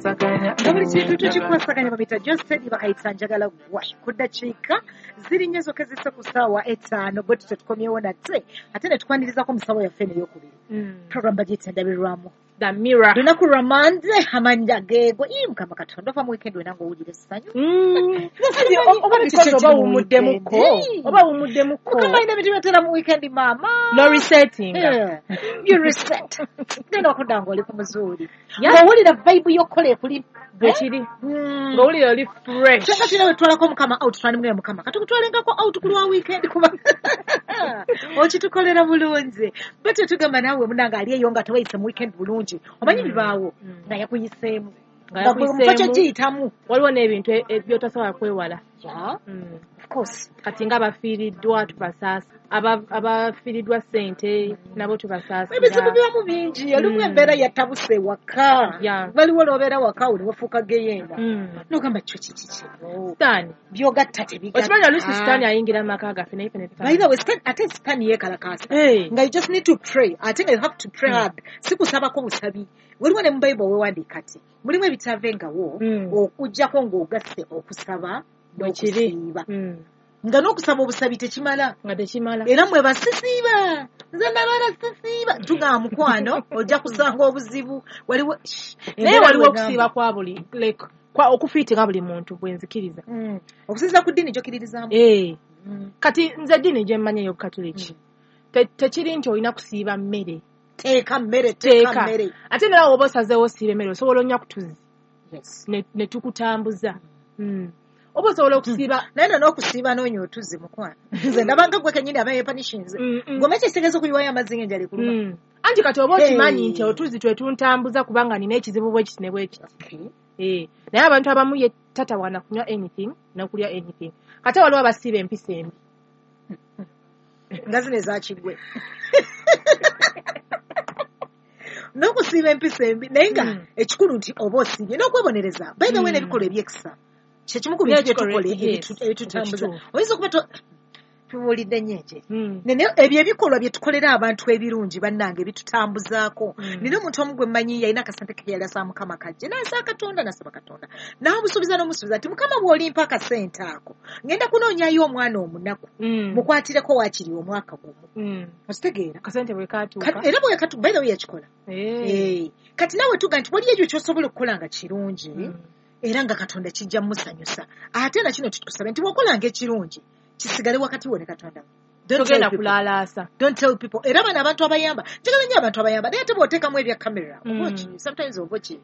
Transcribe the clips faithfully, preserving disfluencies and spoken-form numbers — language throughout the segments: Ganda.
Nga buli kintu tukikwasaganya, babita Josedi, bakayita Njagala Gwa. Ku ddakiika ziri nnya zokka ezisse ku ssaawa etaano, bwe tutyo tukomyewo nate ate ne tukwanirizaako musawo yaffe n'eyokubiri. Program bagiyita Endabirwamu. The Mirror. Lunaku lwa Mande, amannya geego. Ii, Mukama Katonda, ova mu weekend wena ng'owulira essanyu. Oba because oba wumuddemuko, oba wumuddemuko. Mukama alina ebintu byatera mu weekend, maama. No resetting. Yeah. You reset, genda okudda ng'oli ku muzuuli, ng'owulira vibe y'okukola ekuli. Bwekiri, ng'owulira oli fresh. Kyokka tulina bwe tutwalako Mukama out, twandimugenda, Mukama katukutwalengako out ku lwa weekend, kuba okitukolera bulungi. Bwetyo tugamba naawe munange ali eyo nga tewayise mu weekend bulungi, omanyi bibaawo nga yakuyiseemu, nga nga gwe mu kifo kyogiyitamu. Waliwo n'ebintu e- e- by'otasobola kwewala. Yeah, Mm. of course. Kati nga abafiiriddwa tubasaasa, Aba- abafiiriddwa ssente nabo tubasaasira. Ebizibu bibamu bingi. Olumu embeera yatabuse waka. Yeah. Waliwo lwobeera waka oli wafuuka geyeena, Mm. nogamba kyo kiki kino? Sitaani. Byogatta tebigatta. Okimanyi oluusi sitaani ayingira mu maka gaffe naye ffe ne By tutamanya. the way, Stan, ate Sitaani yeekalakaasa. Hey. Nga you just need to pray, ate nga you have to pray hard, si kusabako busabi. Waliwo ne mu Bayibuli wewandiika ti mulimu ebitavengawo Mm. okuggyako ng'ogasse okusaba Bwekiri. n'okusiiba, Mm. nga n'okusaba obusabi tekimala. Nga tekimala. Era mwe basisiiba, nze nabala sisiiba, tugamba mukwano ojja kusanga obuzibu. Waliwo Naye embeera waliwo bwegamba. Okusiiba kwa buli, like kwa okufiitinga buli muntu bwenzikiriza. Mm. Okusinziira ku ddiini gy'okkiririzaamu. Eh. Mm. Kati nze eddiini gye mmanyi ey'obukatuliki, Te- tekiri nti olina kusiiba mmere. Teeka mmere, teeka teeka mmere. Ate nawe oba osazeewo osiiba emmere, osobola onya kutuzi Yes. ne ne tukutambuza. Mm. Oba osobola okusiiba. Naye no n'okusiiba n'onywa otuzzi, mukwano, nze ndabanga gwe kennyini aba yeepanishinze. Mm, mm. Gwe kyekitegeeza okuyiwayo amazzi ng'enjala ekuluma. Mm. Anti kati oba okimanyi Hey. nti otuzzi twe tuntambuza kubanga nina ekizibu bwe kiti ne bwe kiti. Okay. Eh, naye abantu abamu ye tatawaana kunywa anything n'okulya anything. Kate waliwo abasiiba empisa embi. Nga zino ezakigwe n'okusiiba empisa embi, naye nga Mm. ekikulu nti oba osiibye n'okwebonereza, by the way, Mm. n'ebikolwa ebyekisa kyekimu ku bintu N'ekikolwa, byetukola yes, ebitu- ebitutambuza. Ekituufu. Oyinza okuba to- tubuulidde nnyo enje. Mm. Naye ebyo ebikolwa bye tukolera abantu ebirungi, bannange, bitutambuzaako. Mm. Nina omuntu omu gwe mmanyi, yalina akasente ke yali asaba Mukama kajje, n'asaba Katonda, n'asaba Katonda, n'amusuubiza n'omusuubiza nti, "Mukama, bw'olimpa akasente ako, ngenda kunoonyayo omwana omunaku, Mm. mukwatireko waakiri omwaka gumu." Mm. Okitegeera? Akasente bwe katuuka. Ka- era bwe katu, by the way, yakikola. Eh. Eh, kati naawe tuga nti waliyo ekyo ky'osobola okukola nga kirungi, Mm. era nga Katonda kijja mumusanyusa. Ate nakino tutukusabe nti bw'okolanga ekirungi, kisigale wakati wo ne Katonda. Don't tell Togenda people. kulaalaasa. Don't tell people. Era bano abantu abayamba, njagala nnyo abantu abayamba, naye ate bw'oteekamu ebya kamera, oba Mm. oki- sometimes oba oki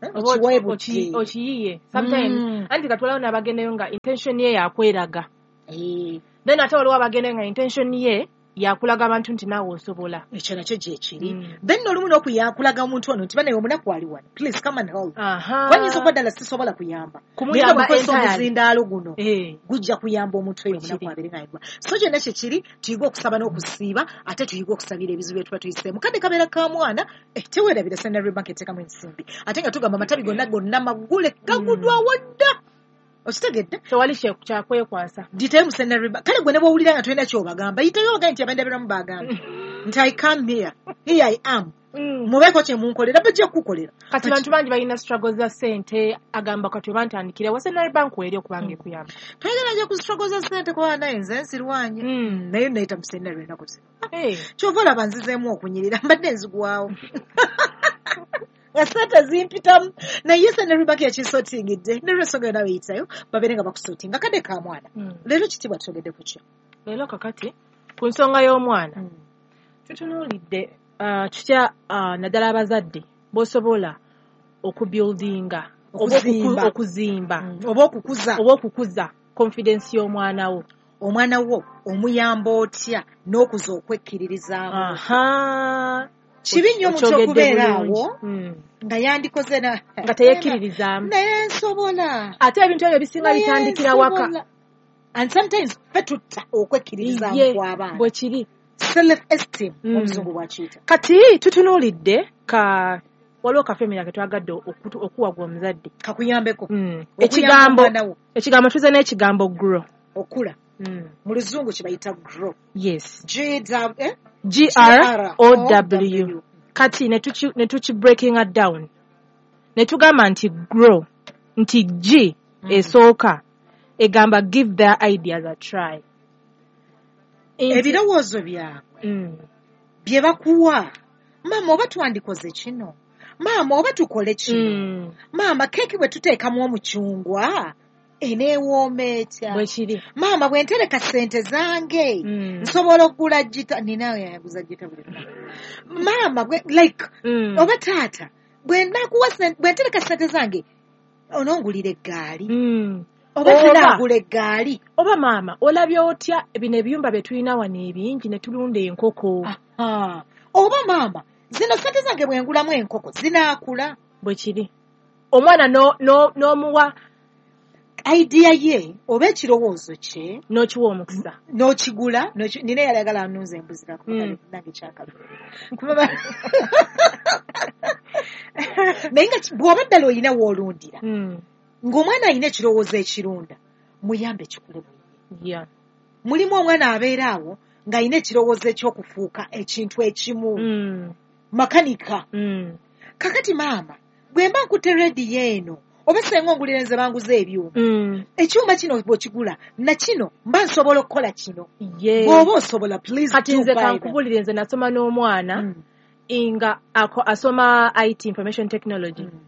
eh, Oba okiweebudde. oki- okiyiye sometimes. Mm. Anti kati waliwo n'abagendayo nga intention ye yakweraga. Eh, Then ate waliwo abagendayo nga intention ye yakulaga abantu nti naawe osobola. Ekyo nakyo gyekiri. Mm. Then olumu n'okuyakulaga omuntu ono nti, "Banaye, omunaku ali wano, please come and help." Aha. Wanyinza okuba ddala sisobola kuyamba, naye nga Kumuyamba bwekozesa entirely. omuzindaalo guno, Eh. gujja kuyamba omuntu oyo Bwe omunaku kiri. abeere ng'ayigwa. So kyonna kyekiri, tuyige okusaba n'okusiiba, ate tuyige okusabira ebizibu bye tuba tuyiseemu. Kadde kabeera ka mwana, eh, teweerabira Centenary Bank eteekamu ensimbi, ate nga tugamba amatabi gonna gonna maggule, gaguddwawo dda. Okitegedde? Tewali kye- kyakwekwasa. Gitayo mu Centenary Bank. Kale gwe ne bw'owulira nga tolina kyobagamba, yitayo obagambe nti abendabiramu bagambye nti, "I come here, here I am, mubeeko kye munkolera." Bajja kukukolera. Kati bantu bangi balina struggle za ssente, agamba kati oba ntandikira wa Centenary Bank weeri okubanga ekuyamba. Twagala nja ku struggle za ssente, kuba naye nze nsirwanye. Mm. Naye nayita mu Centenary ennaku zino. Eh. Kyova olaba nzizeemu okunyirira, mbadde nzigwawo nga sente zimpitamu, naye Centenary Bank yakisotingidde nolwensonga yonna beyitayo babeere nga bakusotinga kadde ka mwana. Mm. Leero kitiibwa twogedde ku kyo. Leero kakati ku nsonga y'omwana tutunuulidde uh, kitya, uh, naddala abazadde b'osobola okubuildinga oba okuku- Okuzimba. Okuzimba. Oba okukuza. Oba okukuza confidence y'omwana wo. Omwana wo omuyamba otya n'okuza okwekkiririzaamu? Aha. Kibi nnyo omuntu Okyogedde okubeera bulungi. awo Mm. nga yandikoze na Nga teyekkiririzaamu. Naye nsobola. Ate ebintu ebyo bisinga Naye bitandikira waka. nsobola. And sometimes ffe tutta okwekkiririzaamu Ye, kw'abaana. Bwe kiri. Self esteem, Mm. omuzungu bwakiyita. Kati tutunuulidde ka waliwo kafemera ke twagadde okutu- okuwa gwe omuzadde. Kakuyambeko Mm. okuyamba Ekigambo omwana wo. Ekigambo tuze n'ekigambo "grow". Okula. Mm. Mu luzungu kye bayita "grow". Yes. G W, eh? G R O W. Kati ne tuki ne tuki breakinga down. Ne tugamba nti grow, nti G Mm. esooka egamba give their ideas a try. Nti- Ebirowoozo byabwe Mm. bye bakuwa, maama oba twandikoze kino, maama oba tukole kino, Mm. maama keeki bwe tuteekamu omucungwa eneewooma etya, Bwe kiri. maama bwe ntereka ssente zange Mm. nsobola okugula gita, ninawe yaguza gita buli lunaku, maama bwe like Mm. oba taata bwe nakuwa ssente- bwe ntereka ssente zange onongulira eggaali, Mm. oba Oba- tunaagula eggaali. Oba maama olabye otya bino ebiyumba bye tulina wano ebingi ne tulunda enkoko. Aha. Oba maama zino ssente zange bwe ngulamu enkoko zinaakula. Bwe kiri. Omwana no- no- n'omuwa idea ye oba ekirowoozo kye n'okiwa omukisa. N'okigula, n'oki- nina eyali ayagala anunze embuzi Mm. nange kyakabi. Kuba ba- naye nga ki- bw'oba ddala olina w'olundira, Mm. ng'omwana alina ekirowoozo ekirunda, muyambe kikule bwe. Yeah. Mulimu omwana abeera awo ng'alina ekirowoozo eky'okufuuka ekintu ekimu, Mm. makanika. Mm. Kakati maama bwe mba nkutte rediyo eno oba senga ongulira nze banguza ebyuma, Mm. ekyuma kino bw'okigula na kino mba nsobola okukola kino. Yeah. Bw'oba osobola, please Kati do nze buy them. kankubulire, nze nasoma n'omwana Mm. nga ako- asoma I T, information technology, Mm.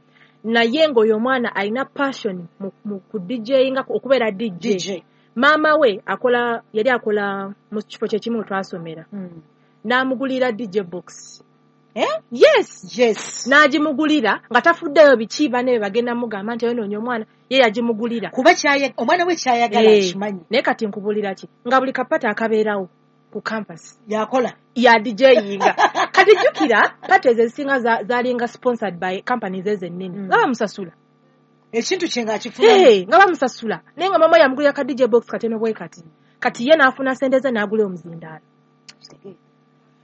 naye ng'oyo omwana alina passion mu, mu ku D J, nga okubeera D J. D J. Maama we akola, yali akola mu kifo kye kimu twasomera, Mm. n'amugulira D J box. Eh? Yes. Yes. N'agimugulira nga tafuddeyo biki banne be bagenda mugamba nti oyonoonya omwana, ye yagimugulira. Kuba kyaya- omwana we kyayagala Eh, akimanyi. Naye kati nkubulira ki, nga buli kapata akabeerawo ku campus yakola ya DJinga. Kati jjukira party ezo ezisinga za- zalinga sponsored by companies ezo ennene, Mm. nga bamusasula. Ekintu kye ng'akifuna. Hey, nga bamusasula, naye nga mama yamugulira ka D J box katono bwe kati. Kati ye n'afuna sente ze n'agula omuzindaalo.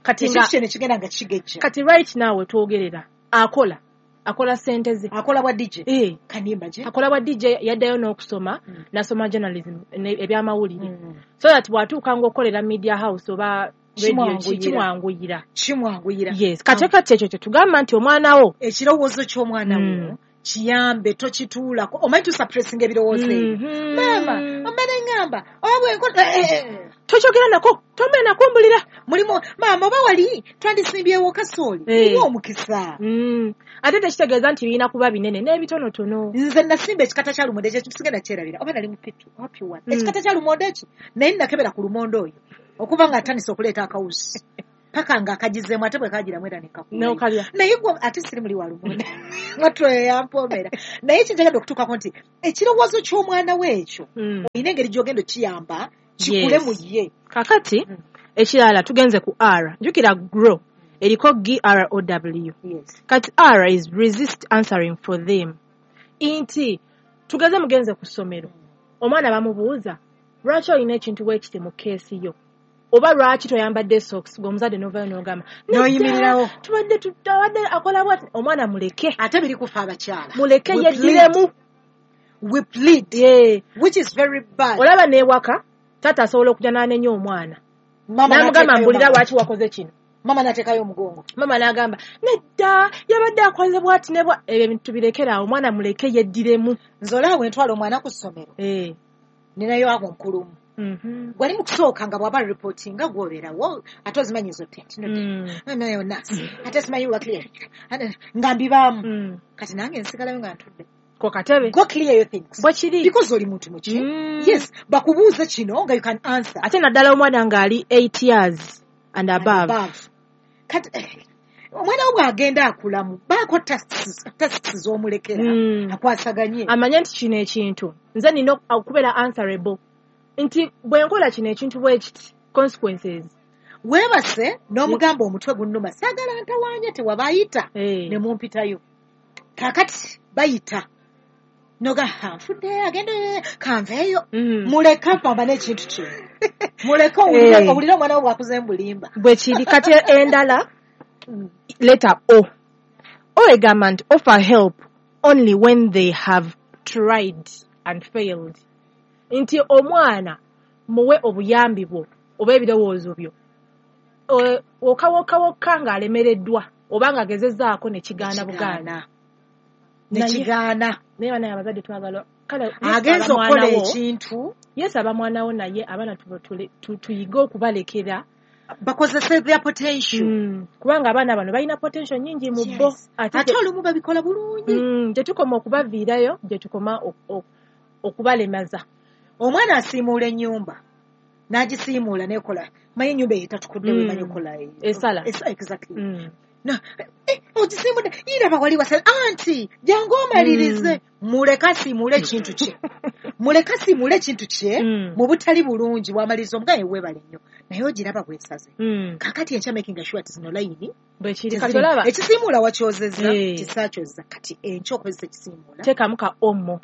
Kati nga Ekintu kye ne kigenda nga kigejja. Kati right now wetwogerera akola akola sente ze. Akola bwa D J. Eh, kanimba gye. Akola bwa D J. Yaddayo n'okusoma, Mm. n'asoma journalism ne- ebyamawulire, Mm. so that bw'atuuka ng'okolera media house oba radio, Kimwanguyira. Kimwanguyira. Kimwanguyira. Yes. Kati kati ekyo kyetugamba nti omwana wo Ekirowoozo ky'omwana wo Mm. kiyambe, tokituulako. Omanyi tusuppressinga ebirowoozo ebyo. Mhm. Maama omala eŋŋamba oba bwenkola eh, eh, Tokyogera nako, tombe nako mbulira. Mulimu maama oba wali twandisimbyewo kasooli, Eh. mulimu omukisa. Mm. Ate tekitegeeza nti birina kuba binene, n'ebitonotono. Nze nasimba ekikata kya lumonde ekyo sigenda kyerabira, oba nali mu P two oba P one. Mm. Ekikata kya lumonde eki, naye nakebera ku lumonde oyo okuva nga atandise okuleeta akawusi paka nga akagizeemu, ate bwe kagiramu era nekakuulayo. N'okalya. Naye gwe ate siri muli wa lumonde matwe yampoomera, naye kinjagadde okutuukako nti ekirowoozo ky'omwana we ekyo Mm. olina engeri gy'ogenda okiyamba kikule Yes. mu ye. Kakati Mm. ekirala tugenze ku R. Jjukira grow eriko G R O W. Yes. Kati R is resist answering for them. Nti tugeze mugenze ku ssomero, omwana bamubuuza lwaki olina ekintu bwekiti mu keesi yo, oba lwaki toyambadde socks, gwe omuzadde n'ovayo n'ogamba "Nedda, N'oyimirirawo. tubadde tubadde akola bwati." Omwana muleke. Ate biri kufa abakyala. Muleke We yeddiremu. plead. We plead, Yeah. which is very bad. Olaba n'ewaka taata asobola okujja n'anenya omwana, Mama n'amugamba n'ateekayo mbulira mama. lwaki wakoze kino. Mama n'ateekayo omugongo. Mama n'agamba nedda, yabadde akoze bwati ne bwa ebyo ebintu tubirekere awo, omwana muleke yeddiremu. Nze olaba bwe ntwala omwana ku ssomero, Eh. ninayo ago nkulumu Mhm. gwali mu kusooka nga bw'aba reportinga gw'obeerawo, ate ozimanyi zo tent Mm. nayo nurse, ate simanyi wa clear nga mbibaamu. Mm. Kati nange nsigalayo nga ntudde Ko katebe. Go clear your things Bwe kiri. because oli muntu muki. Mm. Yes, bakubuuze kino nga you can answer. Ate naddala omwana ng'ali eight years and above. Above. Kati eh, omwana wo bw'agenda akulamu baako tasks tasks z'omulekera Mm. akwasaganye. Amanye nti kino ekintu nze nina okubeera answerable, nti bwe nkola kino ekintu bwe kiti, consequences. Weebase n'omugamba omutwe gunnuma, saagala ntawaanya, tewabayita Eh. ne mumpitayo. Kaakati bayita noga nfudde agende kanveeyo. Mm. Muleke apambane ekintu kino, muleke owulire Eh. owulire omwana wo bw'akuze mbulimba. Bwe kiri. Kati endala, letter O. O egamba nti offer help only when they have tried and failed. Nti omwana muwe obuyambi bwo oba ebirowoozo byo O- wokka wokka wokka ng'alemereddwa oba ng'agezezzaako ne kigaana bugaana. Nekigaana. Naye banaye abazadde twagala kale agenza okukola ekintu. Yes, aba mwana wo, naye abaana tuyige okubalekera bakozese their potential. Mm. Kubanga abaana bano balina potential nyingi mu bo. Ate olumu babikola bulungi. Mm. Gye tukoma okubaviirayo, gye tukoma okubalemaza. Omwana asiimuula ennyumba n'agisiimuula n'ekola, manyi ennyumba eyo etatukudde, Mm. wemanyi okola esala. Exactly. Mm. Eh, ogisiimudde iraba wali wasala anti jangu omalirize. Muleke asiimuule ekintu kye, muleke asiimuule ekintu kye mu butali bulungi. Bwamaliriza omugaye weebale nnyo, naye ogiraba bwesaze. Kakati enkya making sure nti zino layini ekisiimuula wakyozezza, kisaakyoza. Kati enkya okozesa ekisiimuula teekamu ka omo.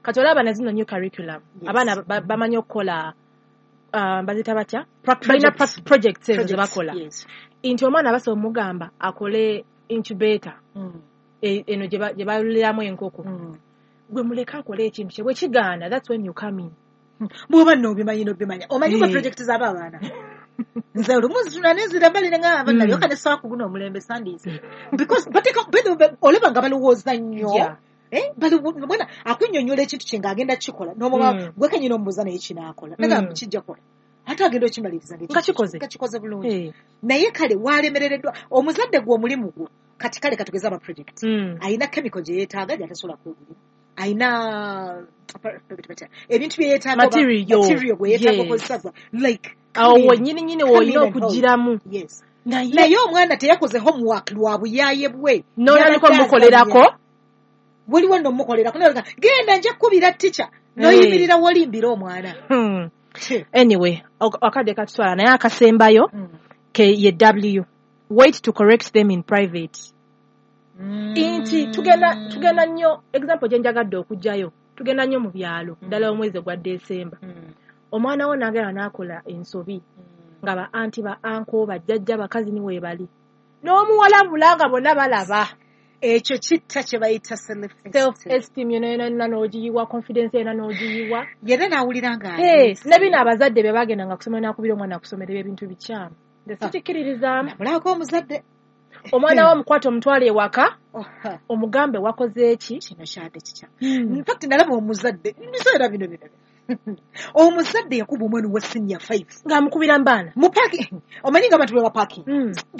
Kati olaba na zino new curriculum, abaana bamanyi okukola, bazita batya, balina projects ezo ze bakola. Nti omwana basobola omugamba akole incubator eno gye baluliramu enkoko. Gwe muleke akole ekintu kye, bwe kigaana, that's when you come in. Bw'oba nno obimanyi n'obimanya, omanyi gwe project z'aba abaana. Nze olumu nzituna nenzira mbali nga abaana nalyoka ne ssaawa ku guno omulembe sandiise, because bateeka olaba nga balowooza nnyo. Bwana akunnyonnyola ekintu kye ng'agenda kukikola, n'omuba gwe kennyini omubuuza naye kinaakola, nagamba kijja kukola, ate agenda okimaliriza nga kikoze, nga kikoze bulungi. Naye kale walemerereddwa omuzadde gwe omulimu gwo. Kati kale katugeze aba project, ayina chemical gye yeetaaga gy'atasobola kwegulira, ayina ebintu bye yeetaaga, material gwe yeetaaga okozesa, like awo wennyini nnyini w'olina okugiramu. Naye omwana teyakoze homework lwa buyaaye bwe, n'otandika omukolerako. Waliwo nno omukolerako, genda nja kkubira teacher, n'oyimirira wolimbira omwana. Anyway, akadde katutwala, naye akasembayo ke ye W, wait to correct them in private. Nti tugenda tugenda nnyo, example gye njagadde okuggyayo, tugenda nnyo mu byalo, ddala omwezi gwa December. Omwana wo n'agenda n'akola ensobi nga ba anti, ba uncle, bajjajja, bakazi ni weebali, n'omuwalabula nga bonna balaba. Ekyo kitta kye bayita self esteem yonna yonna n'ogiyiwa, confidence yonna n'ogiyiwa. Yena n'awulira nga ne bino abazadde be bagendanga kusomera n'akubira omwana akusomera ebintu bikyamu. Nze sikikkiririzaamu. Namulabako omuzadde. Omwana wo omukwate omutwale ewaka, omugambe wakoze eki? Kino kyadde kikyamu. In fact nalaba omuzadde, biseera bino bino. Omuzadde yakuba omwana wa senior five. Ng'amukubira mbaana. Mu parking. Omanyi nga abantu bwe baparking.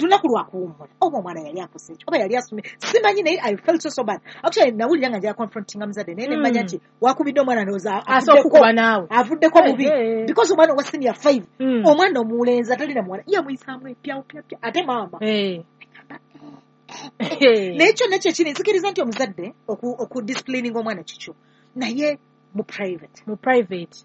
Lunaku lwa kuwummula. Oba omwana yali akoze eki, oba yali asomye. Simanyi, naye I felt so so bad. Actually nawulira nga njagala confrontinga muzadde, naye ne mmanya nti wakubidde omwana ndowooza asobola okukuba naawe. Avuddeko bubi. Because omwana wa senior five, omwana omulenzi atalina muwala, yamuyisaamu epyawo pya pya. Ate maama. Naye kyonna kyekiri, nzikiriza nti omuzadde okudisciplininga omwana kikyo, naye mu private. Mu private.